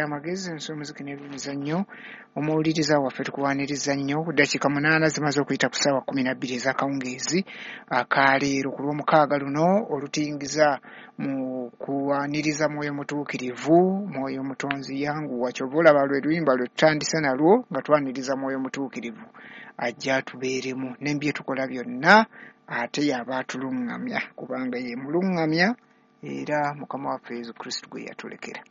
Amagezi, ensi, omuziki n'ebyemizannyo. Omuwuliriza waffe, tukuwaniriza nnyo. Dakiika 8 zimaze okuyita ku ssaawa 12 ez'akawungeezi akaleero ku Lwomukaaga luno olutuyingiza mu kuwaniriza Mwoyo Mutuukirivu. Mwoyo Mutonzi yanguwa, kyova olaba lwe luyimba lwe tutandise nalwo nga twaniriza Mwoyo Mutuukirivu ajja atubeeremu ne bye tukola byonna, ate y'aba atuluŋŋamya, kubanga ye muluŋŋamya era Mukama waffe Yesu Kristo gwe yatulekera.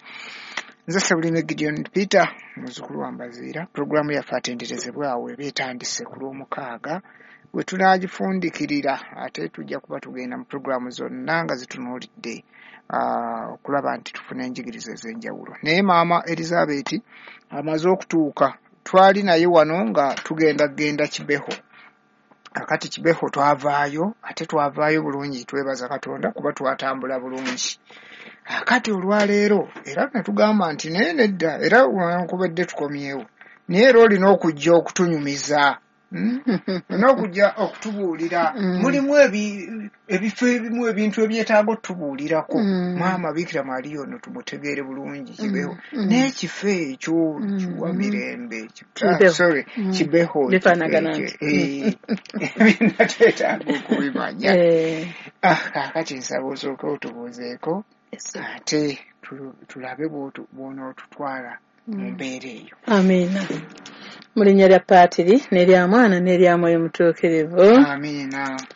Nze Sebulime Gideon Peter, muzzukulu wa Mbaziira. Pulogulaamu yaffe Atenderezebwa awo eba etandise ku Lwomukaaga, we tunaagifundikirira ate tujja kuba tugenda mu pulogulaamu zonna nga zitunuulidde okulaba nti tufuna enjigiriza ez'enjawulo. Naye Maama Elizabeth amaze okutuuka, twali naye wano nga tugenda genda Kibeho. Akati Kibeho twavaayo, ate twavaayo bulungi, twebaza Katonda kuba twatambula bulungi. Akati olwaleero era ne tugamba nti naye nedda, era wankubadde tukomyewo, naye era olina okujja okutunyumiza, Olina okujja okutubuulira. Mulimu ebifo ebimu, ebintu ebyetaaga otubuulirako. Maama Bikira Maria ono tumutegeere bulungi, Kibeho. N'ekifo ekyo kiwa mirembe. Kibeho. Sorry, Kibeho. Bifaanagana ekifo nti. ekyo, byonna twetaaga okubimanya. Kaakati nsaba osooke otubuuzeeko, ate tulabe bw'onootutwala mu mbeera eyo. Amiina. Mu linnya lya Paatiri n'erya Mwana n'erya Mwoyo Mutuukirivu. Amiina.